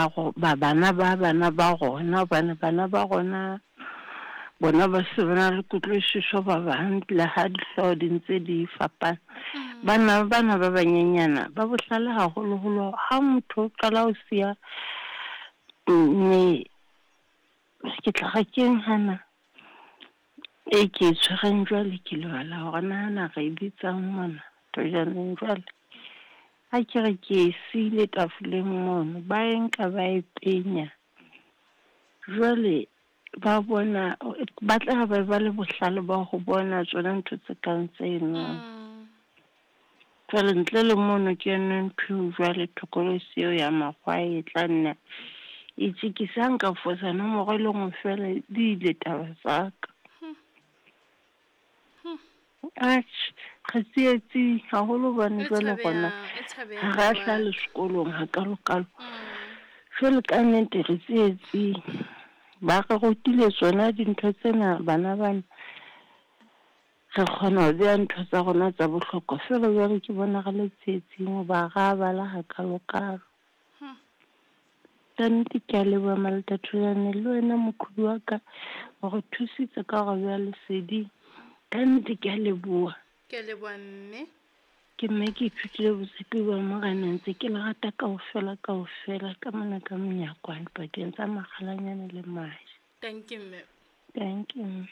ba ba bana ba bana ba rona, hobane bana ba rona bona ba se ba na le kutlwisiso ba bang le ha dihlooho di ntse di fapana. Bana bana ba banyenyana ba bohlale haholoholo ha motho o qala ho siya mme ke tla re keng hana e ke e tshwereng jwale ke lebala hore nahana re e bitsang mona tojaneng jwale. Ha ke re ke e siile tafoleng mono, ba e nka ba e penya. Jwale ba bona, ba tla be ba le bohlale ba ho bona tsona ntho tse kang tseno. Jwale ntle le mono ke yona ntho eo jwale thokolosi eo ya makgwa e tla nna e tjekisa. Ha nka fosa nomoro e le nngwe feela di ile taba tsa ka. Atjhe, re tsietsing haholo hobane E jwale rona tshabehang, e tshabehang ha ra bua. hlaha le sekolong hakalokalo. Jwale ka nnete re tsietsing. Ba re rutile tsona dintho tsena bana bana. Re kgona ho beha ntho tsa rona tsa bohlokwa feela jwale ke bona re le tsietsing hoba ha ra bala hakalokalo. Ka nnete ke a leboha Malota Thulane le wena moqhobi wa ka o re thusitse ka hore beha leseding. Ka nnete ke a leboha. Ke a leboha mme. Ke mme ke ithutile botshepi ba Morena ntse ke le rata kaofela kaofela ka mona ka monyakwane pakeng tsa Makgalanyane le Maje. Thank you mme. Thank you mme.